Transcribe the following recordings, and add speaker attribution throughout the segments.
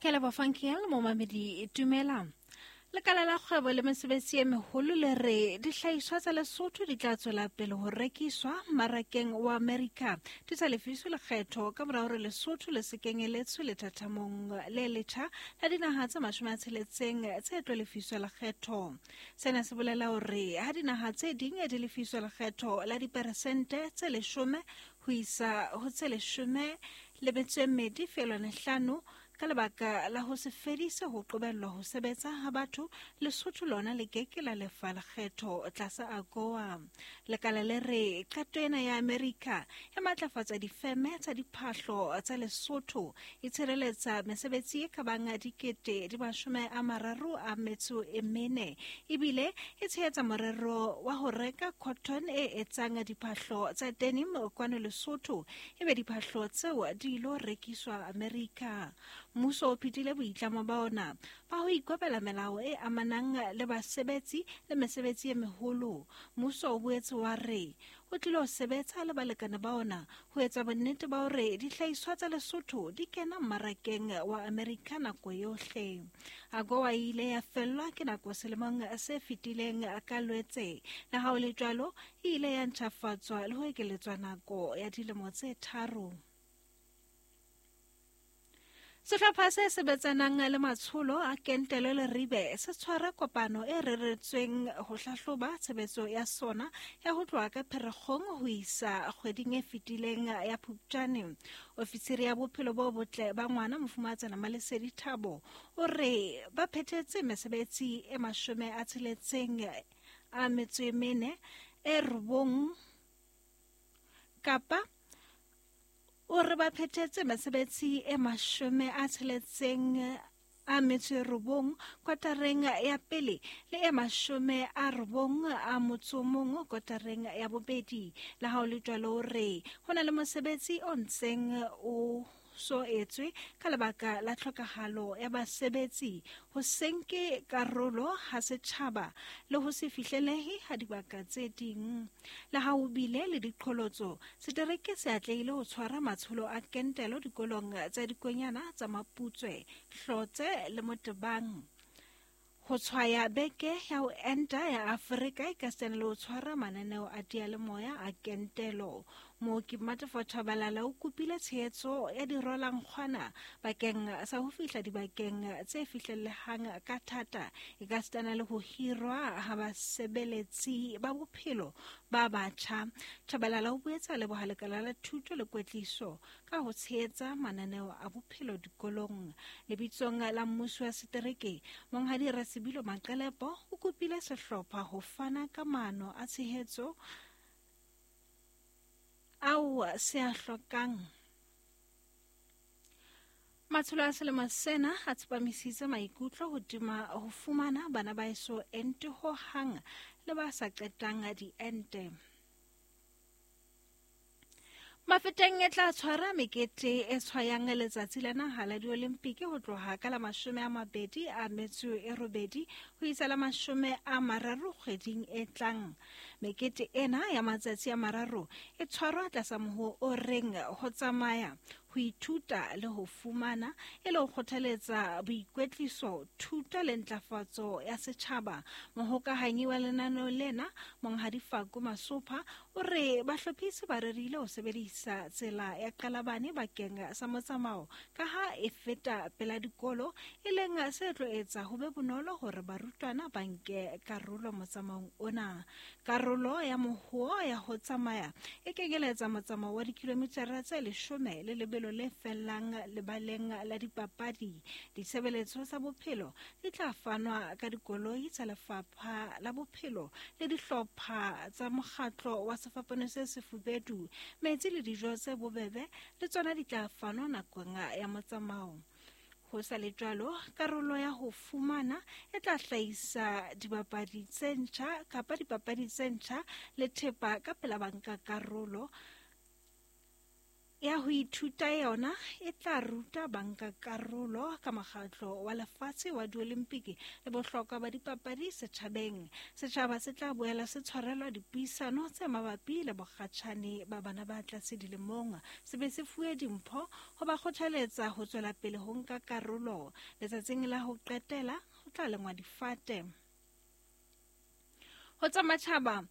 Speaker 1: Ke a leboha Funkiel, momamedi dumela. Lekala la kgwebo le mesebetsi e meholo le re dihlahiswa tsa Lesotho di tla tswela pele ho rekiswa mmarakeng wa Amerika di sa lefiswe lekgetho ka mora hore Lesotho le se kenyeletswe lethathamong le letjha la dinaha tse 60 tse tlo lefiswa lekgetho. Sena se bolela hore ha dinaha tse ding di lefiswa lekgetho la diperesente tse 10 ho isa ho tse 12.5 ka lebaka la ho se fedise ho qobellwa ho sebetsa ha batho, Lesotho lona le ke ke la lefa lekgetho tlasa AGOA. Lekala le re qeto ena ya Amerika e matlafatsa difeme tsa diphahlo tsa Lesotho, e tshireletsa mesebetsi e ka bang 34,000 ebile e tshehetsa morero wa ho reka cotton e etsang diphahlo tsa denim kwano Lesotho, ebe diphahlo tseo di ilo rekiswa Amerika. Mmuso o phethile boitlamo ba ona ba ho ikobela melao e amanang le basebetsi le mesebetsi e meholo. Mmuso o boetse wa re o tlile ho sebetsa le balekane ba ona ho etsa bonnete ba hore dihlahiswa tsa Lesotho di kena mmarakeng wa Amerika nako yohle. AGOA e ile ya fellwa ke nako selemong se fetileng ka Lwetse. Le ha ho le jwalo, e ile ya ntjhafatswa le ho ekeletswa nako ya dilemo tse 3. Sehlopha se sebetsanang le matsholo a kentelo le ribe se tshwara kopano e reretsweng ho hlahloba tshebetso ya sona ya ho tloha ka Pherekgong ho isa kgweding e fetileng ya Phupjane. Ofisiri ya bophelo bo botle ba ngwana Mofumahatsana Malesedi Thabo o re ba phethetse mesebetsi e 64 kapa o re ba phethetse mesebetsi e 69 kotareng ya pele le e 91 kotareng ya bobedi. Le ha ho le jwalo, re ho na le mosebetsi o ntseng o so etswe ka lebaka la tlhokahalo ya basebetsi, ho se nke karolo ha setjhaba le ho se fihlelehe ha dibaka tse ding. Le ha ho bile le diqholotso, setereke se atlehile ho tshwara matsholo a kentelo dikolong tsa dikonyana tsa Maputswe, Hlotse le Motebang. Ho tshwaya beke ya ho enta ya Afrika e ka sena le ho tshwara mananeo a diyalemoya a kentelo. Mooki Mmatefo Tshabalala o kopile tshehetso ya dirwalankgwana bakeng sa ho fihla dibakeng tse fihlellehang ka thata, e ka sitana le ho hirwa ha basebeletsi ba bophelo ba batjha. Tshabalala o boetse a leboha lekala la thuto le kwetliso ka ho tshehetsa mananeo a bophelo dikolong. Lebitsong la mmuso wa setereke, Monghadi Rasebilo Maqelepo o kopile sehlopha ho fana ka maano a tshehetso ao se a hlokang. Matsholo a selemo sena a tsepamisitse maikutlo hodima ho fumana bana ba eso ente ho hang le ba sa qetang diente. Mafeteng e tla tshwara mekete e tshwayang letsatsi la naha la diolimpiki ho tloha ka la 28 ho isa la 30 kgweding e tlang. Mekete ena ya matsatsi a mararo e tshwarwa tlasa moho o reng ho tsamaya, ho ithuta le ho fumana, e le ho kgothaletsa boikwetliso, thuto le ntlafatso ya setjhaba. Mohokahanyi wa lenaneo lena, Monghadi Faku Masopha, o re bahlophisi ba rerile ho sebedisa tsela ya Qalabane bakeng sa motsamao ka ha e feta pela dikolo, e leng se tlo etsa ho be bonolo hore barutwana ba nke karolo motsamaong ona. Karolo ya mohoo ya ho tsamaya e kenyeletsa motsamao wa dikilomitara tse 10 le lebelo le fellang lebaleng la dipapadi. Ditshebeletso tsa bophelo di tla fanwa ka dikoloi tsa lefapha la bophelo le dihlopha tsa mokgatlo wa sefapano se sefubedu. Metsi le dijo tse bobebe le tsona di tla fanwa nakong ya motsamao. Ho sa le jwalo, karolo ya ho fumana e tla hlahisa dibapadi tse ntjha kapa dipapadi tse ntjha le thepa ka pela banka karolo. Ya ho ithuta yona e tla ruta bankakarolo ka mokgatlo wa lefatshe wa diolimpiki le bohlokwa ba dipapadi setjhabeng. Setjhaba se tla boela se tshwarelwa dipuisano tse mabapi le bokgatjhane ba bana ba tlase dilemong, se be se fuwe dimpho ho ba kgothaletsa ho tswela pele ho nka karolo. Letsatsing la ho qetela ho tla lengwa difate. Ho tsa matjhaba,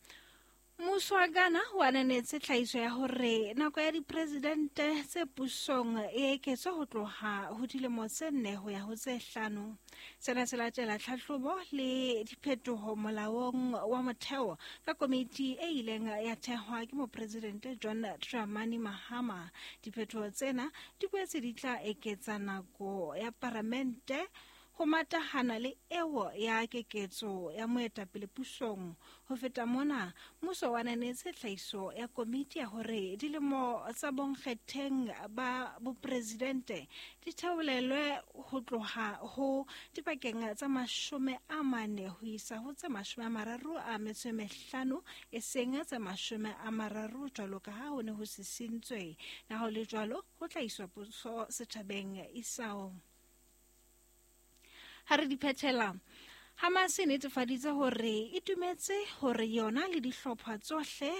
Speaker 1: mmuso wa Ghana o ananetse tlhahiso ya hore nako ya dipresidente tse pusong e eketswe ho tloha ho dilemo tse 4 ho ya ho tse 5. Sena se latela tlhahlobo le diphetoho molaong wa motheo ka komiti e ileng ya thehwa ke mopresidente John Dramani Mahama. Diphetoho tsena di boetse di tla eketsa nako ya paramente ho matahana le eo ya keketso ya moetapele pusong. Ho feta mona, mmuso wa ananetse tlhahiso ya komiti ya hore dilemo tsa bonkgetheng ba bopresidente di theolelwe ho tloha ho dipakeng tsa 40 ho isa ho tse 35, e seng tse 30 jwalo ka ha ho ne ho sisintswe. Na ho le jwalo, ho tla iswa puso setjhabeng isao. Ha re di phethela, Hamas e netefaditse hore e dumetse hore yona le dihlopha tsohle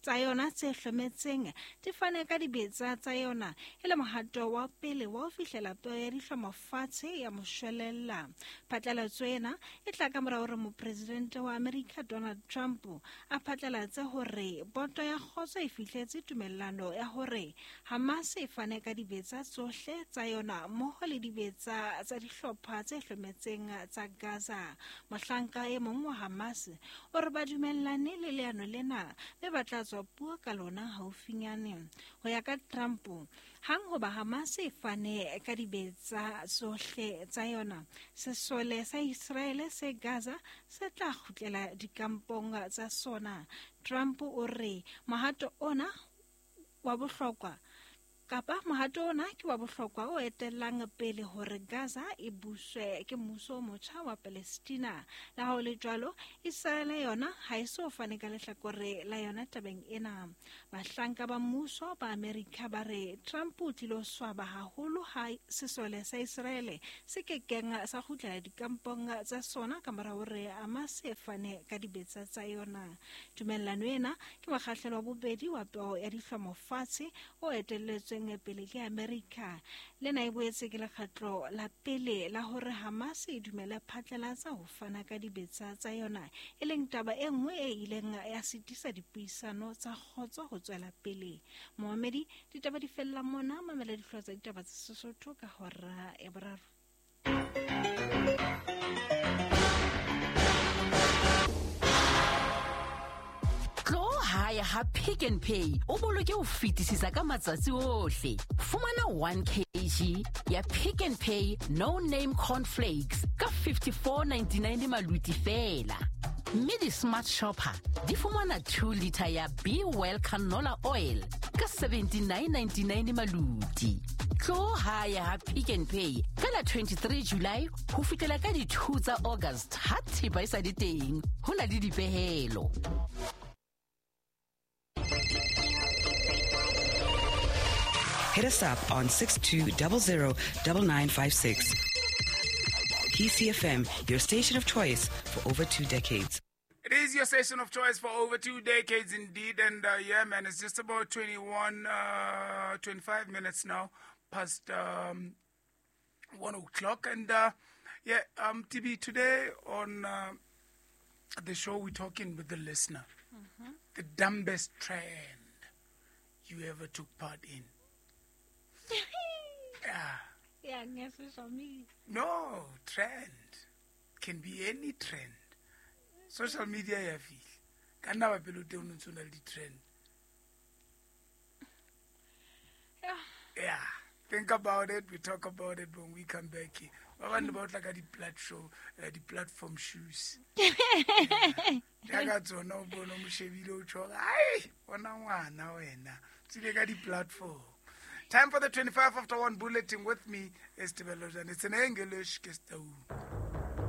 Speaker 1: tsa yona tse hlometseng di fane ka dibetsa tsa yona e le mohato wa pele wa ho fihlela peo ya dihlomo fatshe ya moshwelella. Phatlalatso ena e tla ka mora hore mopresidente wa Amerika Donald Trump a phatlalatse hore boto ya kgotso e fihletse tumellano ya hore Hamas e fane ka dibetsa tsohle tsa yona mmoho le dibetsa tsa dihlopha tse hlometseng tsa Gaza. Mohlanka e mong wa Hamas o re ba dumellane le leano lena mme ba tla tswa puo ka lona haufinyane. Ho ya ka Trump, hang hoba Hamas e fane ka dibetsa tsohle tsa yona, sesole sa Israele se Gaza se tla kgutlela dikampong tsa sona. Trump o re mohato ona wa bohlokwa kapa mohato ona ke wa bohlokwa o etellang pele hore Gaza e buswe ke mmuso o motjha wa Palestina. Le ha ho le jwalo, Israele yona ha e so fane ka lehlakore la yona tabeng ena. Bahlanka ba mmuso ba Amerika ba re Trump o tlilo swaba haholo ha sesole sa Israele se kekeng sa kgutlela dikampong tsa sona ka mora hore Hamas e fane ka dibetsa tsa yona. Tumellano ena ke mokgahlelo wa bobedi wa peo ya dihlomo fatshe o etelletsweng pele ke Amerika. Lena e boetse ke lekgetlo la pele la hore Hamas e dumele phatlalatsa ho fana ka dibetsa tsa yona, e leng taba e nngwe e ileng ya sitisa dipuisano tsa kgotso ho tswela pele. Moamedi, ditaba di fella mona, mamela dihlooho tsa ditaba tsa Sesotho ka hora ya 3.
Speaker 2: Hae ha Pick n Pay o boloke ho fetisisa ka matsatsi ohle. Fumana 1 kg ya Pick n Pay no name cornflakes ka 54.99 maluti fela. Mme di-smart shopper di fumana 2 liter ya Be Well canola oil ka 79.99 maluti. Tlo hae ha Pick n Pay ka la 23 July ho fihlela ka di 2 tsa August ha thepa e sa le teng. Ho na le dipehelo.
Speaker 3: Hit us up on 6200 9956. PCFM, your station of choice for over 2 decades.
Speaker 4: It is your station of choice for over 2 decades indeed. And yeah, man, it's just about 25 minutes now past 1 o'clock. And yeah, TB, today on the show, we're talking with the listener. Mm-hmm. The dumbest trend you ever took part in. Yeah.
Speaker 1: Yeah, social media.
Speaker 4: No, trend. Can be any trend. Social media ya fihla. Ka nna ba pele o teng o ntse o na le di-trend. Yeah. Think about it. We talk about it when we come back here. Ba bang ba otla ka di-platform shoes. Ya ka tsona o bone o mo shebile o tjho, ai, bona ngwana wena. Tsile ka di-platform. Time for the 1:25 bulletin with me, Estebelo. It's in English, Kestau.